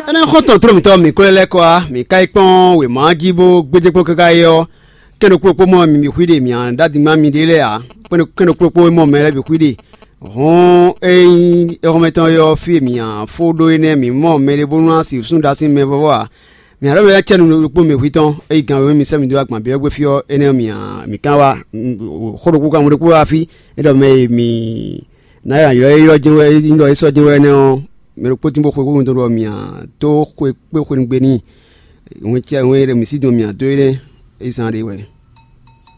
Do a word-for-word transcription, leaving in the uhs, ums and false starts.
Ɛnɛ́ xɔ́ntɔn tló mǐtɔn mǐ kplɔ́n lɛ́ɛ kɔ wá, mǐ ka yi kpɔ́n wěma jí bó gbéjé kpɔ́n káká é ɔ́, kɛ́n ɖokpó kpó mɔ mi xwí ɖe mǐ ɖó adingban miɖée lɛ́ɛ ǎ. Kɛ́n ɖokpó kpó mɔ mɛ lɛ́ɛ bǐ xwí ɖe. Hɔn ényí éhɔ́mɛtɔn ɔ́ fí e mǐ fó ɖó énɛ́, mǐ mɔ mɛɖé bónú ná sixú ɖó así mɛ vɔ́vɔ́ ǎ. Mǐ ɖɔ mɛ lɛ́ɛ cɛ́ nǔ ɖokpó mɛ xwí tɔn, é yi gan wěma mi sɛ́ mǐ dó agban byɔ́ gbé fí ɔ́, énɛ́ ɔ́ mǐ mǐ kan wá. Xó ɖokpó ka mɔ ɖokpó wá fí, é ɖɔ mɛ e mǐ ná ylɔ́ é ylɔ́ jɛ́n wɛ, é nyí ɖɔ é sɔ́ jɛ́n wɛ énɛ́ ɔ́, mɛ ɖokpó tín bó xwe xó ɖɔ mǐ dó xwe kpé xwenu gbe n'i. Wɛn cɛ wɛn e ɖo mǐ sí dun mǐ dó énɛ́, é zán ɖé wɛ.